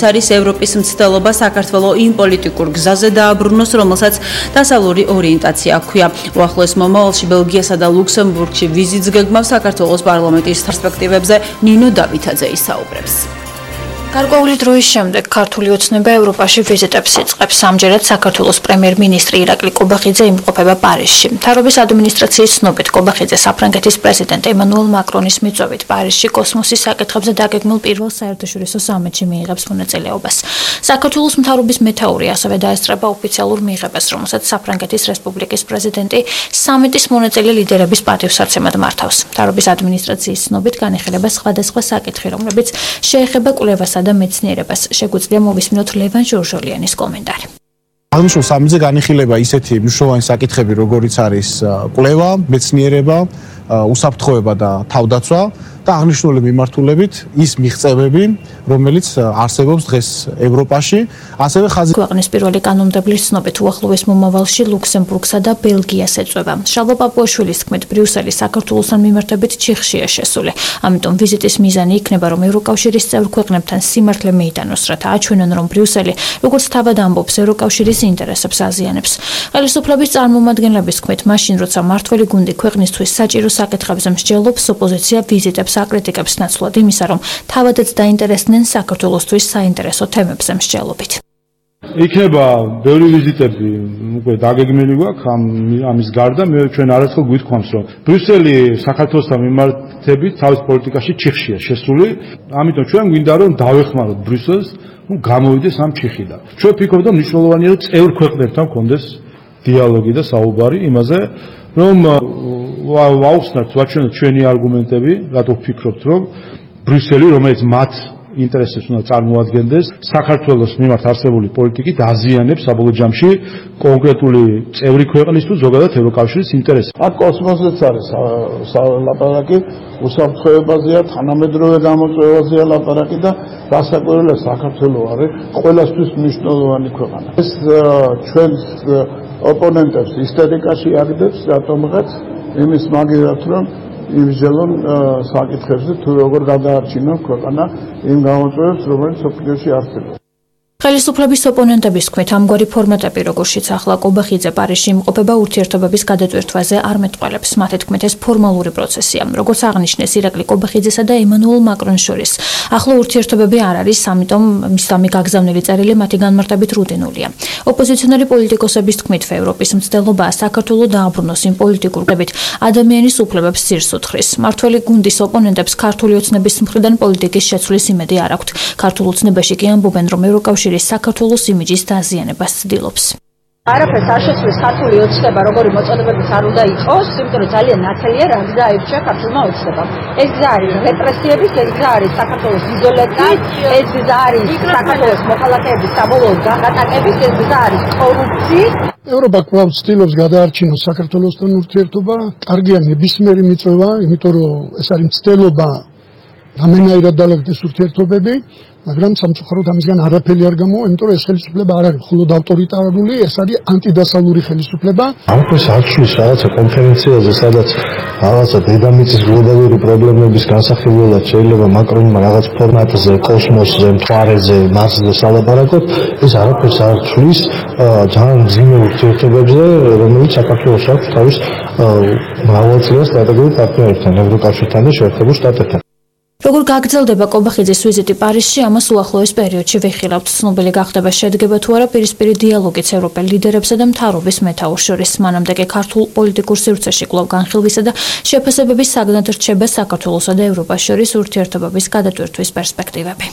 არის ევროპის მცდელობა საქართველოს იმ პოლიტიკურ გზაზე დააბრუნოს, რომელსაც დასავლური ორიენტაცია ჰქვია. უახლოეს მომავალში ბელგიასა და ლუქსემბურგში ვიზიტს გეგმავს საქართველოს პარლამენტის პერსპექტივებზე ნინო დავითაძე ისაუბრებს. გარკვეული დროის შემდეგ ქართული ოცნება ევროპაში ვიზიტებს იწყებს. ამჯერად საქართველოს პრემიერ-მინისტრი ირაკლი კობახიძე იმყოფება პარიზში. მთავრობის ადმინისტრაციის ცნობით კობახიძე საფრანგეთის პრეზიდენტ ემანუელ მაკრონის მიწვევით პარიზში კოსმოსის საკითხებზე დაგეგმილ პირველ საერთაშორისო სამიტში მიიღებს მონაწილეობას. საქართველოს მთავრობის მეთაური ასევე დაესწრება ოფიციალურ მიღებას, რომელსაც საფრანგეთის რესპუბლიკის პრეზიდენტი სამიტის მონაწილე ლიდერების პატივსაცემად მართავს. მთავრობის ადმინისტრაციის ცნობით განიხილება სხვადასხვა საკითხი, რომლებიც შეეხება კვლევასა და მეცნიერებას. შეგვიძლია მოვისმინოთ ლევან ჟორჟოლიანის კომენტარი. აღნიშნულ სამიტზე განიხილება ისეთი მნიშვნელოვანი საკითხები, როგორიც არის კვლევა, მეცნიერება, უსაფრთხოება და თავდაცვა და აღნიშნული მიმართულებით ის მიღწევები, რომელიც არსებობს დღეს ევროპაში, ასევე ქვეყნის პირველი კანონმდებლის ცნობით უახლოეს მომავალში ლუქსემბურგსა და ბელგიას ეწვევა. შალვა პაპუაშვილის თქმით, ბრიუსელი საქართველოსთან მიმართებით ჩიხშია შესული. ამიტომ ვიზიტის მიზანი იქნება, რომ ევროკავშირის წევრ ქვეყნებთან სიმართლე მიიტანოს, რათა აჩვენონ, რომ ბრიუსელი როგორც თავად ამბობს ევროკავშირის ინტერესებს აზიანებს. ხელისუფლების წარმომადგენლების თქმით, მაშინ როცა მმართველი გუნდი ქვეყნისთვის საჭირო საკითხებზე მსჯელობს, ოპოზიცია ვიზიტებს აკრიტიკებს ნაცვლად იმისა, რომ თავადაც დაინტერესდნენ საქართველოსთვის საინტერესო თემებზე მსჯელობით. იქნება ბევრი ვიზიტები, უკვე დაგეგმილი გვაქვს ამის გარდა, ჩვენ არასდროს გვითხოვს, რომ ბრიუსელი საქართველოსთან მიმართებით თავის პოლიტიკაში ჩიხშია შესული, ამიტომ ჩვენ გვინდა რომ დავეხმაროთ ბრიუსელს, გამოვიდეს ამ ჩიხიდან. ჩვენ ვფიქრობთ, რომ მნიშვნელოვანია რომ წევრ ქვეყნებთან გქონდეს დიალოგი და საუბარი იმაზე, რომ ვაუხსნათ, ვაჩვენოთ ჩვენი არგუმენტები, რატო ვფიქრობთ, რომ ბრიუსელი, რომელიც მათ ინტერესებს უნდა წარმოადგენდეს, საქართველოს მიმართ არსებული პოლიტიკით აზიანებს საბოლოო ჯამში კონკრეტული წევრი ქვეყნის თუ ზოგადად ევროკავშირის ინტერესებს. აქ კოსმოსიც არის ლაპარაკი, უსაფრთხოებაზეა, თანამედროვე გამოწვევაზეა ლაპარაკი და გასაკვირველია საქართველო არის ყველასთვის მნიშვნელოვანი ქვეყანა. ეს ჩვენს ოპონენტებს ისტერიკაში აგდებს რატომღაც იმის მაგერად რომ იმჟელონ საკითხებზე თუ როგორ გადაარჩინონ ქვეყანა იმ გამოწვევებს, რომელიც ოფიციალში არსებობს. ხელისუფლების ოპონენტების თქმით, ამგვარი ფორმატები, როგორშიც ახლა კობახიძე პარიზში იმყოფება, ურთიერთობების გადატვირთვაზე არ მეტყველებს. მათი თქმით, ეს ფორმალური პროცესია. როგორც აღნიშნეს ირაკლი კობახიძესა და ემანუელ მაკრონს შორის, ახლა ურთიერთობები არ არის, ამიტომ მისამი გაგზავნილი წერილი მათი განმარტებით რუტინულია. ოპოზიციონერი პოლიტიკოსების თქმით, ევროპის მცდელობაა საქართველოს დააბრუნოს იმ პოლიტიკურ გებით ადამიანის უფლებებს ძირს უთხრის. მმართველი გუნდის ოპონენტებს ქართული ოცნების მხრიდან პოლიტიკის შეცვლის იმედი არ აქვთ. ქართულ ოცნებაში კი ამბობენ, რომ ევროკავშირი საქართველოს იმიჯის დაზიანებას ცდილობს. არაფერს არ შეცვლის ქართული ოცნება, როგორი მოწოდებების არ უნდა იყოს, იმიტომ რომ ძალიან ნათელია რა გზა აირჩია ქართულმა ოცნებამ. ეს გზა არის რეპრესიების, ეს გზა არის საქართველოს იზოლაციის, ეს გზა არის საქართველოს მოქალაქეების საბოლოო გაღატაკების, ეს გზა არის კორუფციის. ევროპა კვლავ ცდილობს გადაარჩინოს საქართველოსთან ურთიერთობა, კარგია ნებისმიერი მიწვევა, იმიტომ რომ ეს არის მცდელობა ამენაირად დალეგდეს ურთიერთობები, მაგრამ სამწუხაროდ ამისგან არაფერი არ გამოვა, იმიტომ რომ ეს ხელისუფლება არ არის მხოლოდ ავტორიტარული, ეს არის ანტიდასავლური ხელისუფლება. ამას არჩვის რაღაცა კონფერენციაზე, სადაც რაღაცა დედამიწის გლობალური პრობლემების განსახილველად შეიძლება მაკრონმა რაღაც ფორმატზე, კოსმოსზე, მთვარეზე, მარსზე სალაპარაკოთ, ეს არაფერს არ არჩვის ძალიან მძიმე ურთიერთობებზე, რომელიც საქართველოს აქვს თავის მრავალწლიან სტრატეგიულ პარტნიორებთან, ევროკავშირთან და შეერთებულ შტატებთან. როგორ გაგრძელდება კობახიძის ვიზიტი პარიზში, ამას უახლოეს პერიოდში ვიხილავთ. ცნობილი გახდება შედგება თუ არა პირისპირი დიალოგიც ევროპელ ლიდერებსა და მთავრობის მეთაურს შორის. მანამდე კი ქართულ პოლიტიკურ სივრცეში კვლავ განხილვისა და შეფასებების საგნად რჩება საქართველოსა და ევროპას შორის ურთიერთობების გადატვირთვის პერსპექტივები.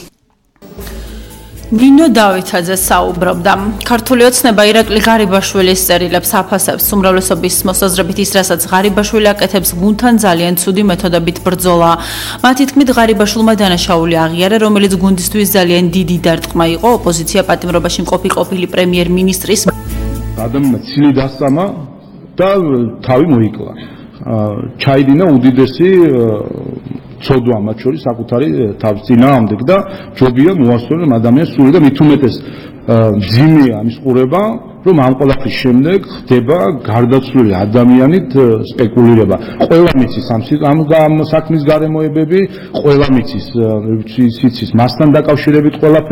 ნინო დავითაძე საუბრობდა. ქართული ოცნება ირაკლი ღარიბაშვილის წერილებს აფასებს. უმრავლესობის მოსაზრებით ის, რასაც ღარიბაშვილი აკეთებს, გუნდთან ძალიან ცუდი მეთოდებით ბრძოლა. მათი თქმით, ღარიბაშვილმა დანაშაული აღიარა, რომელიც გუნდისთვის ძალიან დიდი დარტყმა იყო. ოპოზიცია პატიმრობაში მყოფი ყოფილი პრემიერ-მინისტრის ადამიანმა ცილი დასწამა და თავი მოიკლა. ჩაიდინა უდიდესი ცოდვა მათ შორის საკუთარი თავის წინააღმდეგ და ჯობია მოასწორონ ადამიანს სული და მით უმეტეს მძიმეა ამის ყურება, რომ ამ ყველაფრის შემდეგ ხდება გარდაცვლილი ადამიანით სპეკულირება. ყველა მიცის ამ საქმის გარემოებები, ყველა მიცის სიცის მასთან დაკავშირებით ყველაფერი